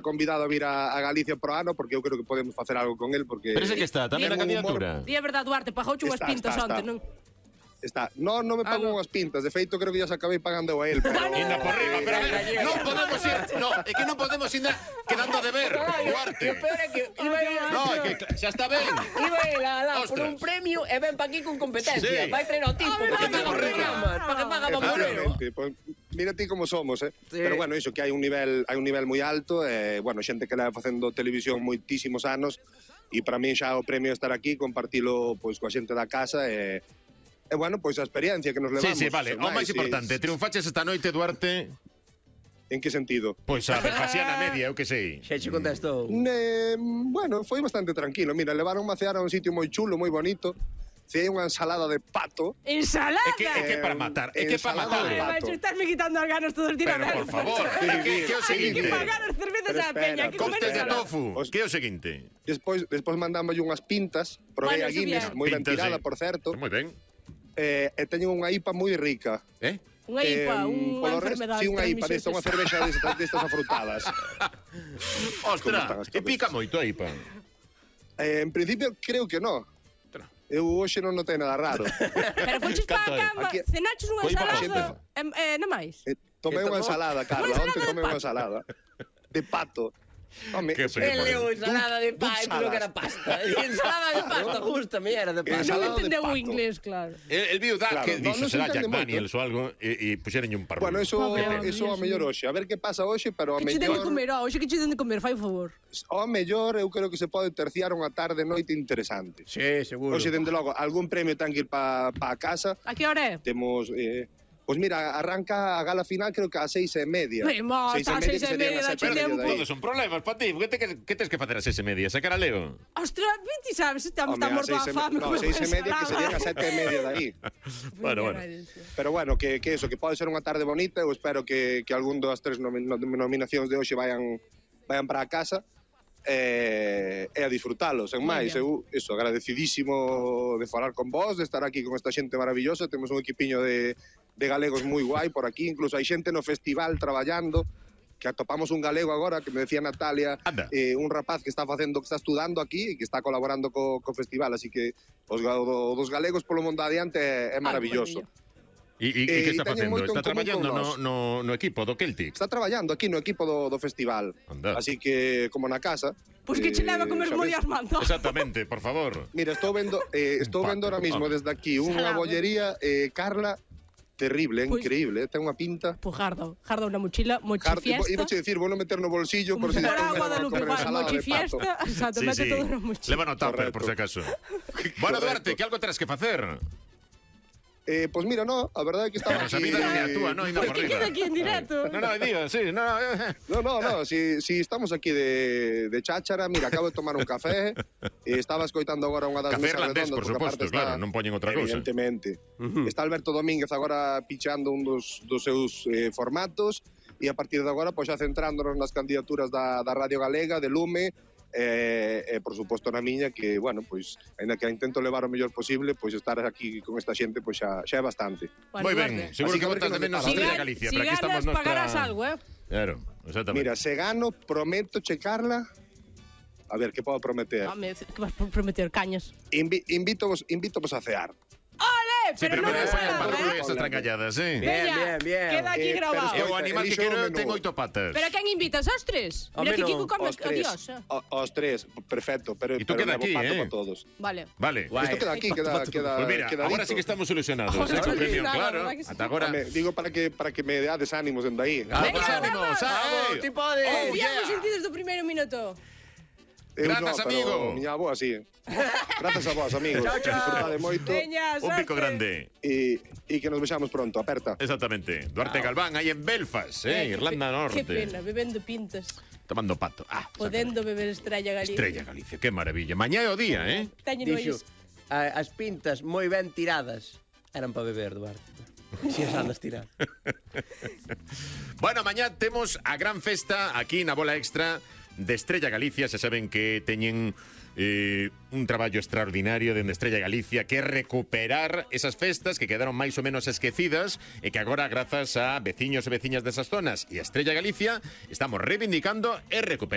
convidado a vir a Galicia pro ano, porque eu creo que podemos facer algo con el, porque... Pero ese que está, tamén na candidatura. Di a verdade, Duarte, pagouche unhas pintas onte, non? Está. Non me pago unhas pintas. De feito, creo que ya se acabei pagando a él. Pero... Inda por riba, pero a ver, non podemos ir... No, é que non podemos ir quedando de ver, Duarte. O peor é que iba No, é que xa está ben. Iba a ir lá por un premio e ven pa aquí con competencia. Vai traer ao tipo, para que paga programas, para que paga Bambolero. Pues, mira ti como somos, Sí. Pero bueno, iso que hai un nivel moi alto, bueno, xente que leva facendo televisión moitísimos anos, e para mí xa o premio estar aquí, compartilo pois coa xente da casa e bueno, pois a experiencia que nos levamos. Sí, vale. O máis importante, triunfaches esta noite, Duarte. En que sentido? Pois a Belfasiana media, eu que sei. Xa che contestou. Bueno, foi bastante tranquilo. Mira, levaronme a cear a un sitio moi chulo, moi bonito. Ceei unha ensalada de pato. Ensalada? É que para matar, é que para matar. Vai, estarme quitando as ganas todos os días. Pero, por favor, que é o seguinte. Hai que pagar as cervezas á peña. Costes de tofu, que é o seguinte. Despois mandámoslle unhas pintas. Provei a Guinness, moi ben tirada, por certo. Moi ben. E teño unha IPA moi rica. Unha IPA, unha enfermedade. Sí, unha IPA, desta, unha cervexa destas afrutadas. Ostras, e pica moito a IPA. En principio, creo que no. Eu hoxe non notei nada raro. Pero fonches pa a cama, cenaches unha ensalada, non máis? Tomei unha ensalada, Carla, onte tomei unha ensalada. De pato. Home, Ele leu ensalada de pasta, pero que era pasta. Ensalada de pasta, justa, me era de pasta. Non entendeu o inglés, claro. El viu da que dixo, será Jack Daniels ou algo, e puxerenlle un par. Bueno, eso a mellor hoxe. A ver que pasa hoxe, pero a mellor... Que che den de comer, hoxe que che den de comer, fai o favor. Ao mellor, eu creo que se pode terciar unha tarde noite interesante. Sí, seguro. Hoxe, dende logo, algún premio ten que ir pa casa. A que hora é? Temos... Pois mira, arranca a gala final creo que a 6:30. Está a 6:30 da tempo. Todos son problemas para ti. Que tens que facer a 6:30? Sacar a Leo? Ostras, ti sabes, estamos tan morto a fame. No, 6:30 que serían a 7:30 de aí. Bueno. Pero bueno, que eso, que pode ser unha tarde bonita. Eu espero que algún das tres nominacións de hoxe vayan para a casa. E a disfrutalos, en máis. Eu, eso, agradecidísimo de falar con vos, de estar aquí con esta xente maravillosa. Temos un equipiño de galegos moi guai por aquí, incluso hai xente no festival traballando, que atopamos un galego agora, que me decía Natalia, un rapaz que está estudando aquí e que está colaborando co festival, así que os dos galegos polo mundo adiante é maravilloso. E que está facendo? Está traballando no equipo do Celtic? Está traballando aquí no equipo do festival. Así que, como na casa... Pois que che leva a comer molias manto. Exactamente, por favor. Mira, estou vendo ahora mismo desde aquí unha bollería, Carla, terrible, increíble, ten unha pinta. Pois Jardo unha mochila, mochifiesta. Iba a dicir, vou non meter no bolsillo por si a Guadalupe, mochifiesta, exacto, mete todo no mochila. Leva no tupper, por si acaso. Bueno, Duarte, que algo terás que facer? Pois mira, no, a verdade é que estaba aquí... Pero esa vida non é a túa, non? Por que queda aquí en directo? No, digo, sí, no. No, si estamos aquí de cháchara, mira, acabo de tomar un café, estaba escoitando agora unha das mesas redondas. Café irlandés, por suposto, claro, non poñen outra cousa. Evidentemente. Está Alberto Domínguez agora pichando un dos seus formatos, e a partir de agora, pois xa centrándonos nas candidaturas da Radio Galega, de Lume, por suposto na miña, que, bueno, pois, ainda que intento levar o mellor posible, pois estar aquí con esta xente, pois xa é bastante. Moi ben, seguro que botas de menos Estrella Galicia, pero aquí estamos Si ganas, pagarás algo, Claro, exactamente. Mira, se gano, prometo checarla. A ver, que podo prometer? Que vas prometer, cañas? Invítovos a cear. Ole, pero non é esas trancalladas, Bien. Queda aquí grabado. É o animal que quero ten 8 patas. Pero a quen invitas? Aos tres? Mira que Kiko come adiós. Aos tres, perfecto. Pero tú queda aquí, para todos. Vale. Isto queda aquí, queda pues mira, agora sí que estamos solucionados. Claro, ata agora. Digo para que me deades ánimos dende aí. Vamos, ánimos, tipo de... Confiamos en ti desde o primeiro minuto. Grazas, amigo. Miña avó así. Grazas a vos, amigos. Disfrutade moito. Un pico grande. E que nos vexamos pronto, aperta. Exactamente. Duarte Galván, aí en Belfast, Irlanda Norte. Que pena, bebendo pintas. Tomando pato. Podendo beber Estrella Galicia. Estrella Galicia, que maravilla. Mañá é o día, Dixo, as pintas moi ben tiradas eran para beber, Duarte. Si as andas tirar. Bueno, mañá temos a gran festa aquí na Bola Extra de Estrella Galicia. Se saben que teñen un traballo extraordinario dende Estrella Galicia, que é recuperar esas festas que quedaron máis ou menos esquecidas e que agora, grazas a veciños e veciñas desas zonas e a Estrella Galicia, estamos reivindicando e recuperando.